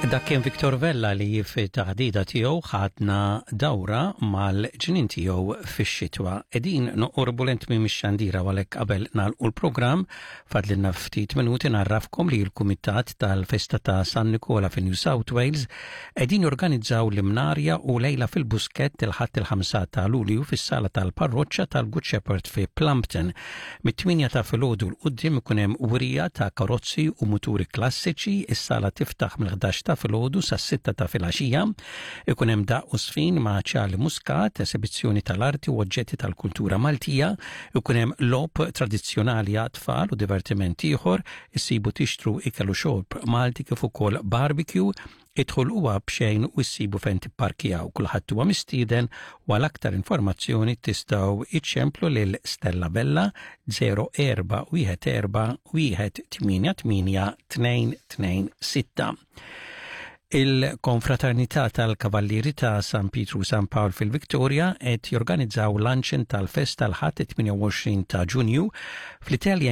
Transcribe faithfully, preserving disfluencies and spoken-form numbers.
Dak kien Victor Vella li fit-taħdita tiegħu ħadna dawra mal-ġnien tiegħu fix-xitwa. Qegħdin noqorbu lejn tmiem ix-xandira, għalhekk qabel nagħlqu l-programm fadlilna ftit minuti ngħarrafkom li l-Kumitat tal-Festa ta' San Nikola fi New South Wales qegħdin jorganizzaw l-Imnarja u lejla fil-Buskett il-Ħadd il-ħamsa ta' Lulju fis-sala tal-Parroċċa tal-Good Shepherd fi Plumpton. Mit-tmienja ta' filgħodu 'l quddiem ikun hemm wirja ta' karozzi u muturi klassiċi, is-sala tiftaħ mill-ħdax ta' filgħodu sas-sitta ta' filgħaxija. Ikun hemm daqq u żfin ma' Charlie Muscat, esibizzjoni tal-arti u oġġetti tal-kultura Maltija, ikun hemm logħob tradizzjonali għat-tfal u divertiment ieħor, issibu tixtru ikel u xorb Malti kif ukoll barbecue. Id-dħul huwa b'xejn u issibu fejn tipparkjaw. Kulħadd huwa mistieden u għal aktar informazzjoni tistgħu iċċemplu lil Stella Bella zero erba' wieħed erba' wieħed tmienja tmienja tnejn tnejn sitta. Il-Konfraternità tal-Kavallieri ta' San Pietru San Pawl fil-Victoria qed jorganizzaw luncheon tal-festa l-Ħadd tmienja u għoxrin ta' Ġunju fl-Italian.